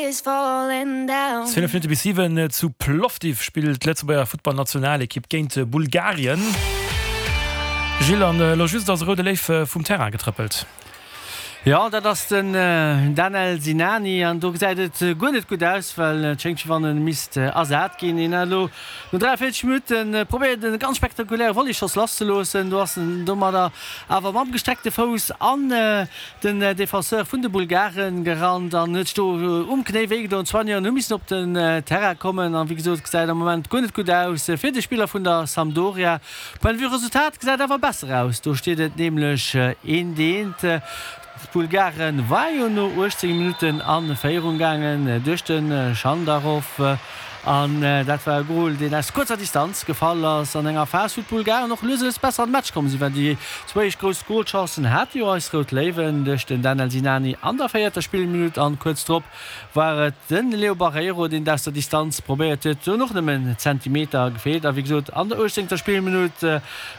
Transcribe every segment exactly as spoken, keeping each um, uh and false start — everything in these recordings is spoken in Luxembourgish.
Zwielef Minutte bis siwen, Zu Plovdiv spillt d'Lëtzebuerger Futtballnationalekipp géint Bulgarien. Gilles, an elo just ass e roude Léif vum Terrain getrëppelt. Jo, dat ass den Danel Sinani an do gesäit et guer net gutt aus, well et schéngt wéi wann e misst ersat ginn. Hien hat elo no dräiavéierzeg Minutte probéiert e ganz spektakuläre Volleyschoss lasszeloossen. Do ass en domadder awer mam gestreckte Fouss an den Defenseur vun de Bulgare gerannt an huet sech do um Knéi wéigedoen. D'Soigneuren hu missen op den Terrain kommen an wéi gesot, gesäit am Moment guer net gutt aus fir de Spiller vun der Sampdoria. Point de vue Resultat gesäit awer besser aus, do steet et nämlech eent eent. D'Bulgare war jo no uechtzéng Minutten a Féierung gaangen duerch de Schandarov an dat war e Gol, deen aus kuerzer Distanz gefall ass an enger Phas, wou d'Bulgaren och lues a lues besser an de Match komm sinn, well déi zwou éischt grouss Golchancen hate jo eis Rout Léiwen duerch den Danel Sinani an der véierter Spillminutt an kuerz drop war et de Leo Barreiro, deen et aus der Distanz probéiert huet, do hunn och nëmmen Zentimeter gefeelt a wéi gesot an der uechtzéngter Spillminutt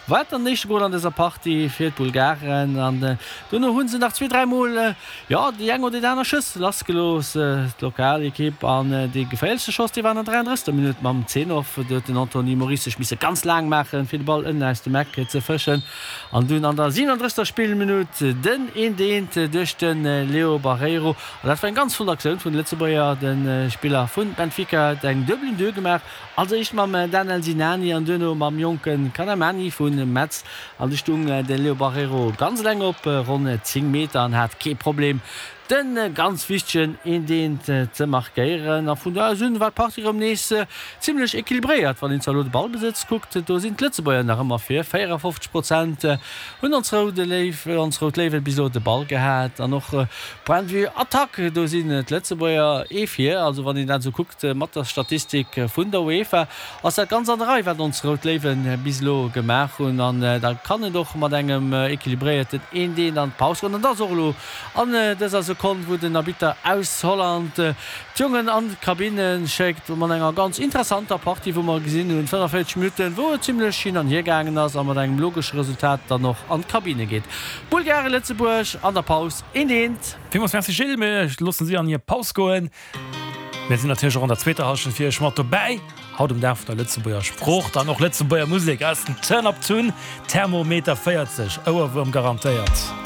war et dann den éischte Gol an dëser Partie fir d'Bulgaren an dono hu se nach zwee, dräi Mol, jo, déi eng oder déi aner Schëss lassgelooss, d'Lokalekipp. An dee geféierlechste Schoss, dee war an der dräianddrëssegster Minutt mam Zenov. Do huet den Anthony Moris sech misse ganz laang maachen, fir de Ball ënnen aus dem Eck ze fëschen. An dunn an der siwenanddrëssegster Spillminutt den eent eent duerch de Leo Barreiro. An dat war eng ganz flott Aktioun vun de Lëtzebuerger. De Spiller vu Benfica huet eng Duebel un deux gemaach, als éischt mam Danel Sinani an duerno mam jonke Kanamani vu Metz. An du stung de Leo Barreiro ganz eleng op ronn zéng Meter an hat kee Problem, de ganz wichtegen eent eent ze markéieren. A vun do aus un war d'Partie erëm nees zimmlech equilibréiert. Wann een zwar elo de Ballbesëtz kuckt, do sinn d'Lëtzebuerger nach ëmmer vir, véierafofzeg Prozent hunn ons Roude Léiw, ons Rout Léiwen bis elo de Ball gehat. An och Point de vue Attack, do sinn d'Lëtzebuerger ee vir. Also wann een dat esou kuckt mat der Statistik vun der UEFA, ass dat ganz an der Rei, wat ons Rout Léiwen bis elo gemaach hunn. An da kann et och mat engem equilibréierten eent eent an d'Paus goen. An dat ass och elo an dëser Sekonn, wou den Arbitter aus Holland d'Jongen an d'Kabinne schéckt, mat enger ganz interessanter Partie, wou mer gesinn hunn, fënnefavierzeg Minutten, wou et zimlech hin an hier gaangen ass a mat engem logesche Resultat dann och an d'Kabinne geet. Bulgaren, Lëtzebuerg an der Paus eent eent. Villmools Merci Gilles, mir loossen si an hir Paus goen. Mir sinn natierlech och an der zweeter Hallschent fir iech mat dobäi. Haut um Dag vun der Lëtzebuerger Sprooch dann och Lëtzebuerger Musek aus den Turn Up Tune, Thermometer véierzeg, Ouerwuerm garantéiert.